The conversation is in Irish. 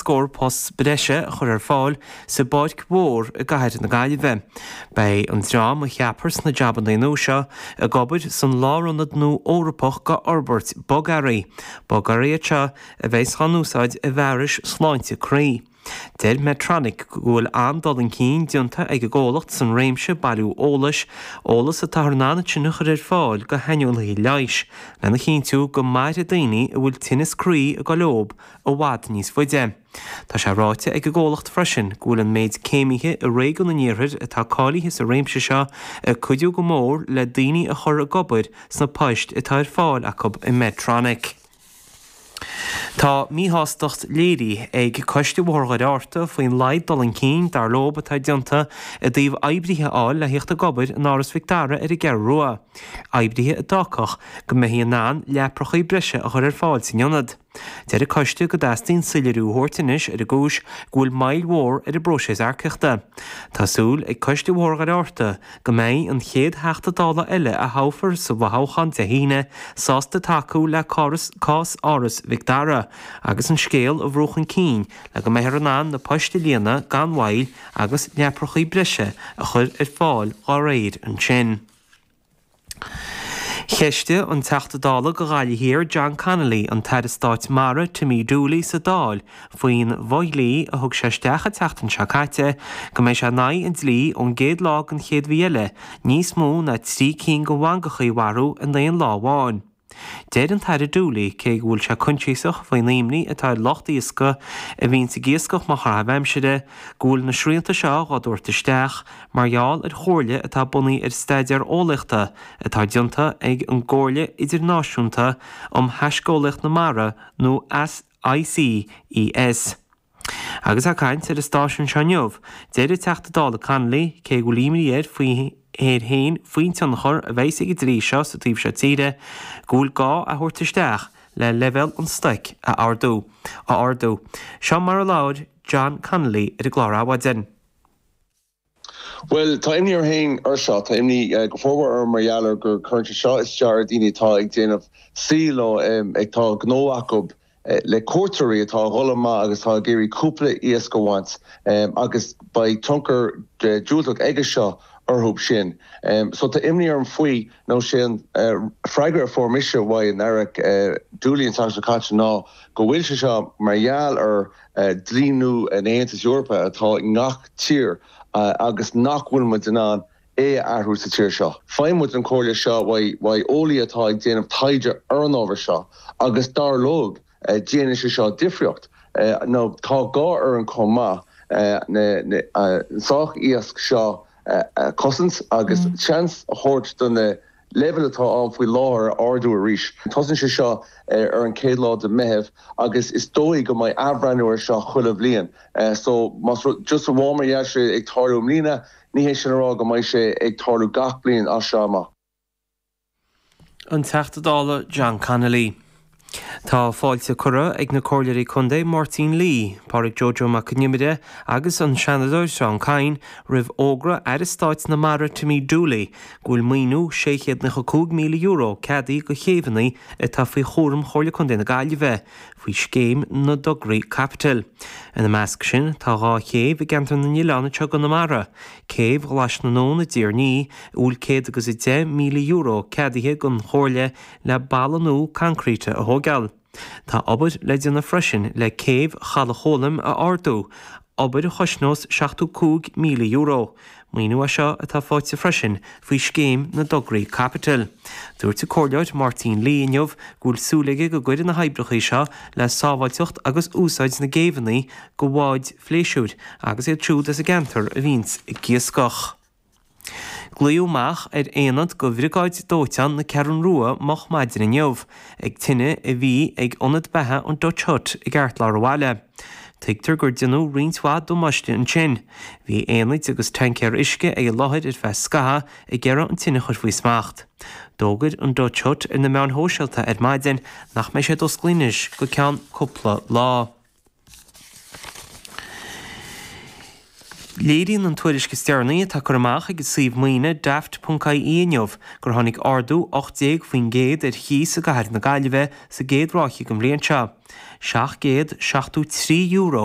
Scór post breise a chur ar fáil sa bPáirc Mhór i gcathair na Gaillimhe. Beidh an dream a cheapfar sna jabanna nua seo ag obair san lárionad nua Eorpach d'fhorbairt bogearraí. Bogearraí iad seo a bheas á n-úsáid i bhfearais sláinte croí. Deir Medtronic go bhfuil an-dul chun cinn déanta ag an gcomhlacht san réimse bailiú eolais, eolas atáthar in ann ansin a chur ar fáil go shaineolaithe leighis, lena chinntiú go mairfidh daoine a bhfuil tinneas croí ag dul leob i bhfad níos faide. Tá sé ráite ag an gcomhlacht freisin go bhfuil an méid céimithe i réigiún an iarthair atá cáilithe sa réimse seo ag cuidiú go mór le daoine a chur ag obair sna poist atá ar fáil acu i Medtronic. Tá míshástacht léirithe ag Coiste Bhóthar Dhoire Fhearta faoin laghad dul chun cinn, dar leob, atá déanta i dtaobh oibrithe a fháil le thíocht ag obair in Áras Mhic Dara ar an gCeathrú Rua, oibrithe a d'fhágfadh go mbeifí in ann leaprachaí breise a chur ar fáil san ionad. Deir an coiste go dteastaíonn soiléiriú a thabhairt anois ar an gcúis go bhfuil moill mhór ar an bpróiseas earcaíochta. Tá súil ag Coiste Bhóthar Dhoire Fhearta go mbeidh an chéad Theachta Dála eile a thoghfar sa bhfothoghchán Dé hAoine sásta tacú le cás Áras Mhic Dara agus an scéal a bhrú chun cinn le go mbeifear in ann na poist a líonadh gan mhoill agus leaprachaí breise a chur ar fáil dá réir ansin. Cheistigh an Teachta Dála do Ghaillimh Thiar John Connolly an tAire Stáit Mara Timmy Dooley sa Dáil faoin bhfo-dhlí a thug sé isteach an tseachtain seo caite go mbeidh sé in aghaidh an dlí ón gcéad lá den chéad mhí eile níos mó ná 3 cinn de mhangachaí a mharú in aon lá amháin. Deir an tAire Dooley, cé go bhfuil sé coinsiasach faoin imní atá ar lucht iascaigh a bhíonns ag iascach mar chaitheamh aimsire, go bhfuil na srianta seo dhá dtabhairt isteach mar gheall ar chomhairle atá bunaithe ar staidéar eolaíochta atá déanta ag an gComhairle Idirnáisiúnta um Thaisceolaíocht na Mara nó ICES. Agus é ag caint ar an stáisiún seo inniu, deir an Teachta Dála Connolly, cé go bhfuil imní air faoi air féin faoin tionchar a bheas ag an dlí seo sa taobh seo tíre, go bhfuil gá é a thabhairt isteach le leibhéal an stoic a ardú. a ardú. Seo mar a labhair John Connolly ar an gclár Adhmhaidin. Bhuel, tá imní orm féin ar seo. Tá imní go formhór orm mar gheall ar gur cuireann sé seo isteach ar daoine atá ag déanamh saoil nó atá gnó acu le cuairteoirí atá a dhul amach agus atá ag iarraidh cúpla iasc a bhaint agus beidh tionchar diúltach aige seo orthu sin. So tá imní orm faoi nó sé an freagra a fuair mise uaidh an Aire Dooley an tseachtain seo caite ná go bhfuil sé seo mar gheall ar dlí nua an Aontais Eorpaigh atá i ngach tír agus nach bhfuil muid in ann é a athrú sa tír seo. Faigheann muid an chomhairle seo uaidh eolaí atá ag déanamh taighde ar an ábhar seo agus dar leo déanann sé seo difríocht. Nó tá gá orainn chomh maith an stoc iasc seo a chosaint agus seans a thabhairt do na leibhéil atá ann faoi láthair a ardú arís. Tosaíonn sé seo ar an chéad lá de Meitheamh agus is dóigh go mbeidh athbhreithniú ar seo chuile bhliain. So más rud, just amháin mar gheall sé ag tarlú i mbliana, ní hé sin a rá go mbeidh sé ag tarlú gach bliain as seo amach. An Teachta Dála John Connolly. Tá fáilte curtha ag na Comhairleoirí Contae Máirtín Lee, Pádraig Joe Joe Mac Con Iomaire agus an Seanadóir Seán Kyne roimh fhógra Aire Stáit na Mara Timmy Dooley go bhfuil maoiniú €695,000 ceadaithe do chéibheanna atá faoi chúram Chomhairle Contae na Gaillimhe faoi Scéim na dTograí Caipitil. Ina measc sin tá 2 chéibh i gCeantar na nOileán anseo i gConamara, Céibh Ghlais na nAbhann i dTír an Fhia a bhfuil €110,000 ceadaithe don Chomhairle le balla nua coincreíte a thóigeáil. Tá obair le déanamh freisin le céibh Chaladh Chóilm a ardú, obair a chosnós €75,000. Maoiniú é seo atá faighte freisin faoi Scéim na dTograí Caipitil. Dúirt an Comhairleoir Máirtín Lee inniu go bhfuil súil aige go gcuirfidh na hoibreacha seo le sábháilteacht agus úsáid na gcéibheanna do bháid phléisiúir agus iad siúd as an gceantar a bhíonns ag iascach. Glaodh amach ar aonad de Bhriogáid Dóiteáin na Ceathrún Rua moch maidin inniu ag tine a bhí ag ionad beatha an Dutch Hut i gceartlár an bhaile. Tuigtear gur deineadh roinnt mhaith damáiste ansin. Bhí aonaid agus taincéir uisce ag an láthair ar feadh scathaimh ag iarraidh an tine a chur faoi smacht. D'fhógair an Dutch Hut ar na meáin shóisialta ar maidin nach mbeidh siad oscailte anois go ceann cúpla lá. Léiríonn an tuairisc is deireanaí atá curtha amach ag an suíomh maoine Daft.ie inniu gur tháinig ardú 18% ar chíos i gcathair na Gaillimhe sa gcéad ráithe den bhliain seo. €773.